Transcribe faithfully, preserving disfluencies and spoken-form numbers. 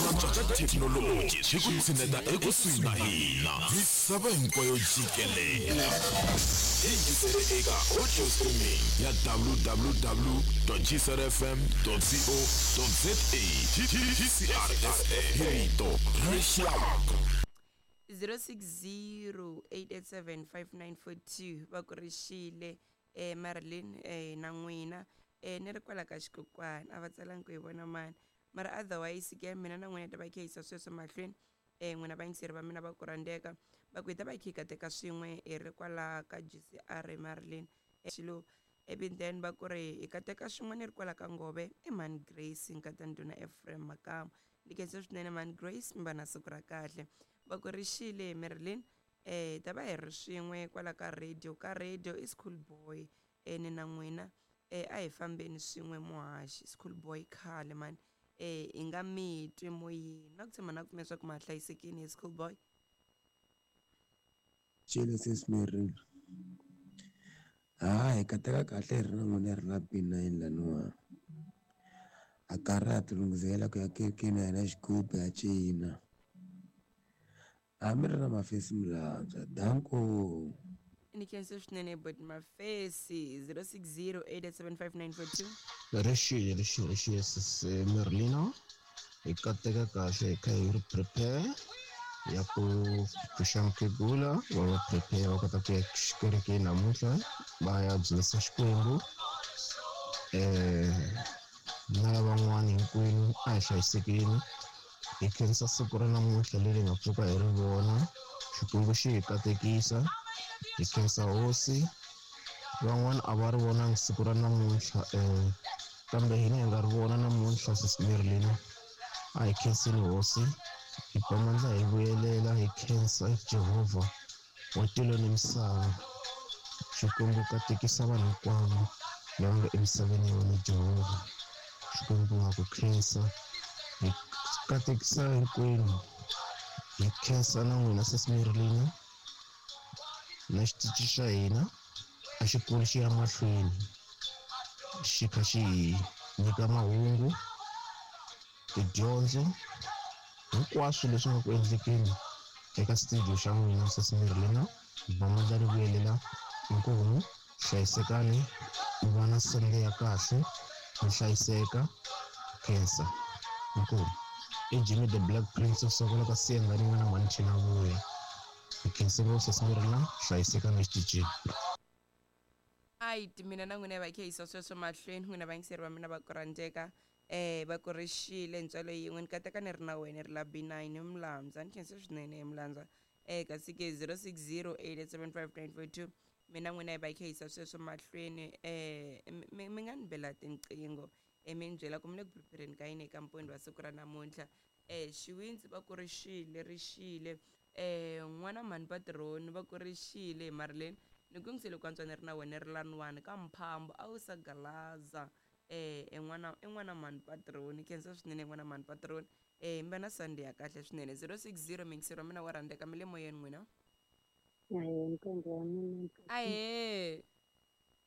Antswa ka thekinoloji swi ku tshineta ekusuhi na hina misava hinkwayo jikelele. Yingisele eka audio streaming ya W W W G C R F M co za. G C R F M, hi rito ra rixaka. zero six zero eight eight seven five nine four two. Va ku rixile eh Marilyn eh na n'wina eh ni ri kwala ka xikokwani, a va tsalangi ku hi vona mani, mara otherwise ke mina na n'wina ta va kha yisa sweswo mahlweni. eh n'wina vayingiseri va mina va ku rhandzeka, va ku hi ta va hi kha hi kateka swin'we hi ri kwala ka G C R Marilyn xilo. Ivi then va ku ri hi kateka swin'we ni ri kwala ka Ngove, i Mani Grace nkata ndhuna Ephraim Makamu. Ni khensa swinene Mani Grace, mi va na siku ra kahle. Va ku rixile Marilyn, eh hi ta va hi ri swin'we kwala ka radio ka radio i school boy eh ni na n'wina eh a hi fambeni swin'we muhaxi school boy khale mani eh hi nga mi twi moyeni na ku tshemba na ku pfumela leswaku ma ha hlayisekile hi school boy. Cele sis Marilyn. Ha hi kateka kahle hi ri na n'wina, hi ri na P nine laniwa. A karhi ha tilunghisela ku ya kerekeni ya hina xigubu ya cina. Hambi ri na mafesi milantswa. Danko. Ni khensa swinene but mafesi. zero six zero eight eight seven five nine four two. Rixile, rixile, rixile sis Merlina, hi kateka kahle, hi kha hi ri prepare ya ku pfuxa mukhegula, va va prepare va kota ku ya xikerekeni namuntlha va ya dzunisa Xikwembu. eh na lavan'wana hinkwenu, a hi hlayisekeni, hi khensa siku ra namuntlha leri hi nga pfuka hi ri vona. Xikwembu xi hi katekisa, hi khensa hosi. Van'wana a va ri vonangi siku ra namuntlha, um kambe hina hi nga ri vona namuntlha. Sis Merlina, a hi khenseni hosi, hi ba mandla, hi vuyelela hi khensa Jehovha wa tilo ni misava. Xikwembu, katekisa vanhu hinkwavo lava nga emisaveni ya wena. Jehovha Xikwembu, ha ku khensa, hi katekisa hinkwenu, hi khensa na n'wina sis Merlina na xitichi xa hina. A xi kuli xi ya mahlweni, xi kha xi hi nyika mahungu, tidyondzo, hinkwaswo leswi nga ku endlekeni eka studio xa n'wina. Sis Merlina, ba mandla ri vuyelela, inkomu, hlayisekani, mi va na Sunday ya kahle, mi hlayiseka, khensa, inkomu. I Jimmy the Black Prince of Sokola ka Siyangani, n'wana mhani chela vuya. Hi khense ngopfu sis Merlina, hlayisekani exitichini. Right, mina na n'wina hi va kha yisa sweswo mahlweni. N'wina vayingiseri va mina va ku rhandzeka, eh va ku rixile ntswalo yin'we, ni kateka ni ri na wena ri la B nine Mlandza. Ni khensa swinene hi Mlandza. eh kasi ke zero six zero eight eight seven five nine four two, mina n'wina hi va kha yisa sweswo mahlweni. eh mi mi nga ni bela tinqingho eh mi ni byela ku mi le ku prepareni ka yini eka mpondho wa siku ra namuntlha. eh xiwindzi va ku rixile, rixile eh n'wana mhani patroni, va ku rixile Marilyn, ni ku yingisele ku antswa ni ri na wena ri laniwani ka mphambo a wu sa galaza. eh en'wana en'wana mhani patroni, khensa swinene n'wana mhani patroni. eh mi va na Sunday ya kahle swinene. zero six zero, mingiseri wa mina wa rhandzeka, mi le moyeni n'wina. Ahee, ntombi wa mina. Ahee.